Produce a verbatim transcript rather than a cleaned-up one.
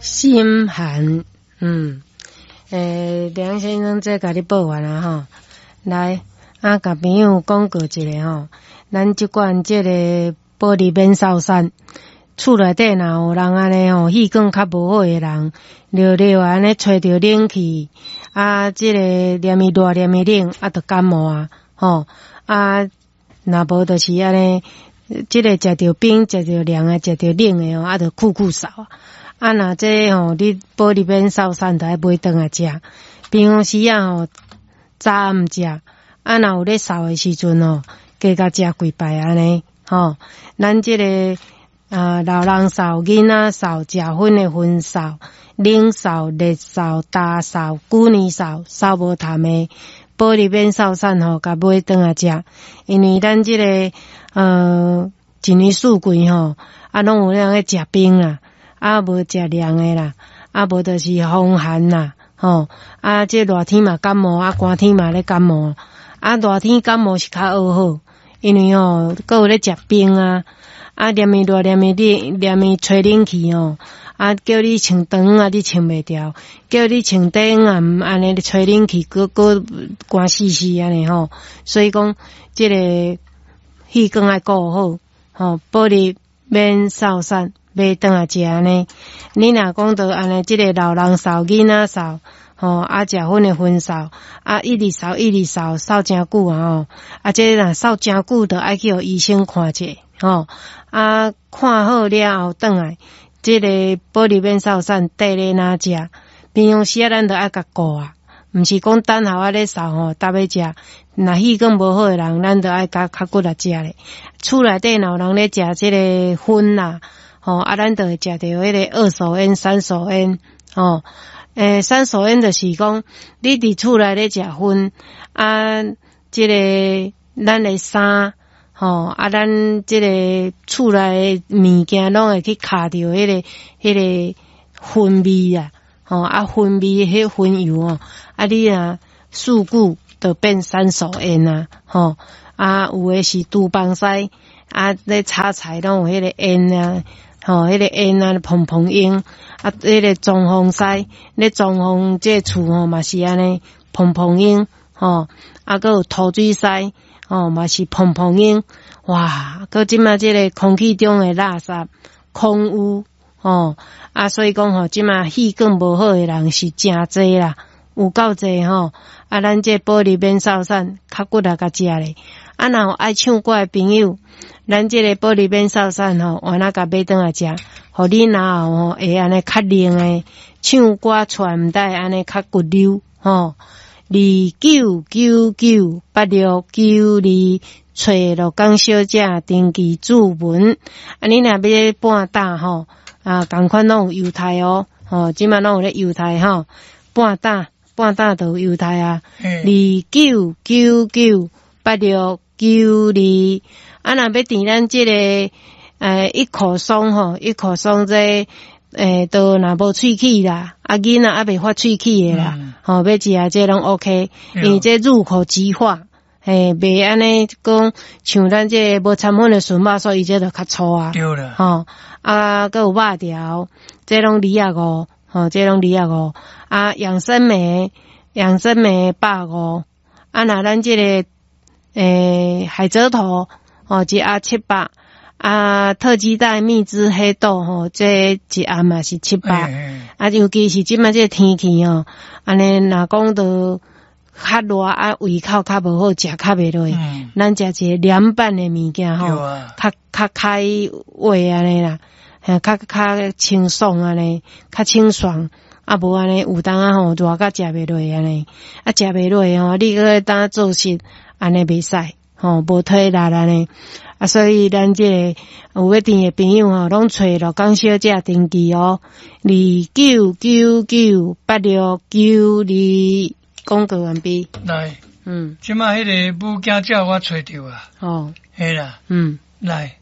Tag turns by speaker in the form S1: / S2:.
S1: 心寒，嗯，欸，梁先生這共你報完啊吼，來，啊，共朋友講過一下吼，咱這款這个保利免掃散，厝內底若有人按呢吼，氣管較無好的人，熱熱按呢吹著冷氣，啊，這个連伊熱連伊冷，啊，就感冒啊，吼，啊，若無就是按呢，這个食著冰，食著涼的，食著冷的吼，啊，就咳咳嗽啊。啊，若這吼，你保利免掃散，就愛買轉來食。平常時啊吼，早暗食，啊，若有咧嗽的時陣吼，加共食幾擺按呢，吼。咱這个啊，老人嗽、囡仔嗽、食薰的薰嗽、冷嗽、熱嗽、焦嗽、久年嗽、嗽無痰的，保利免嗽散吼，共買轉來食。因為咱這个呃，一年四季吼，啊，攏有人咧食冰啦。啊，無食涼的啦，啊，無就是風寒啦，吼，啊，這熱天嘛感冒，啊，寒天嘛咧感冒，啊，熱天感冒是較學好，因為吼，閣有咧食冰啊，啊，連伊熱，連伊冷，連伊吹冷氣吼，啊，叫你穿長啊，你穿袂牢；叫你穿短啊，按呢吹冷氣，閣閣寒死死按呢吼。所以講，這个氣管愛顧好，吼，保利免掃散。買轉來食按呢，你若講著按呢，這个老人嗽、囡仔嗽，吼，啊，食薰的薰嗽，啊，一直嗽一直嗽，嗽誠久啊吼，啊，這若嗽誠久，就愛去予醫生看者，吼，啊，看好了後轉來，這个保利免掃散，綴咧哪食？平常時啊，咱就愛共顧啊，毋是講等候仔咧嗽吼，逐欲食。若氣管無好的人，咱就愛較較骨力食咧。厝內底若有人咧食這个薰啦。吼，啊，咱就會食著彼个二手煙、三手煙，吼，欸，三手煙就是講，你佇厝內咧食薰，啊，這个咱的衫，吼，啊，咱這个厝內的物件攏會去卡著彼个彼个薰味啊，吼，啊，薰味彼薰油哦，啊，你若事久就變三手煙啊，吼，啊，有的是廚房師，啊，咧炒菜攏有彼个煙啊。吼，彼个煙啊，蓬蓬煙，啊，彼个裝潢師咧裝潢這厝吼嘛是按呢，蓬蓬煙，吼，啊，閣有塗水師，吼嘛是蓬蓬煙，哇，閣這馬這个空氣中的垃圾、空污，吼，啊，所以講吼，這馬氣管無好的人是誠濟啦，有夠濟吼，啊，咱這保利免掃散，較骨力共食咧，啊，若有愛唱歌的朋友。咱這个保利免掃散吼，換仔共買轉來食，予你嚨喉吼會按呢較靈的，唱歌出來毋知按呢較骨溜吼。二九九九八六九二，揣樂江小姐登記注文。啊，你若欲半打吼，啊，仝款攏有優待哦，吼，這馬攏有咧優待吼，半打半打就有優待啊。二九九九八六九二。啊，若欲訂咱這个，欸，一口松吼，一口松這，欸，都若無喙齒啦，啊，囡仔猶未發喙齒的啦，吼，欲食這攏 OK，因為這入口即化，嘿，袂按呢講像咱這無摻粉的純肉，所以這就較粗啊，
S2: 對啦，
S1: 吼，啊，閣有肉條，這攏二十五，吼，這攏二十五，啊，養生莓，養生莓百五，啊，若咱這个，欸，海蜇頭。吼，一盒七百，啊，特雞蛋蜜汁黑豆吼，這一盒嘛是七百，啊，尤其是這馬這个天氣吼，按呢若講著較熱啊，胃口較無好，食較袂落，咱食一個涼拌的物件吼，較較開胃按呢啦，較較清爽按呢，較清爽，啊無按呢有當仔吼熱甲食袂落按呢，啊食袂落吼，你閣當做事按呢袂使。吼，無體力按呢，啊，所以咱這个有欲訂的朋友吼，攏揣樂江小姐登記哦，二九九九八六九二，廣告完畢。
S2: 來，
S1: 嗯，
S2: 這馬彼个母驚鳥我揣著啊。
S1: 哦，
S2: 嘿啦，
S1: 嗯，
S2: 來。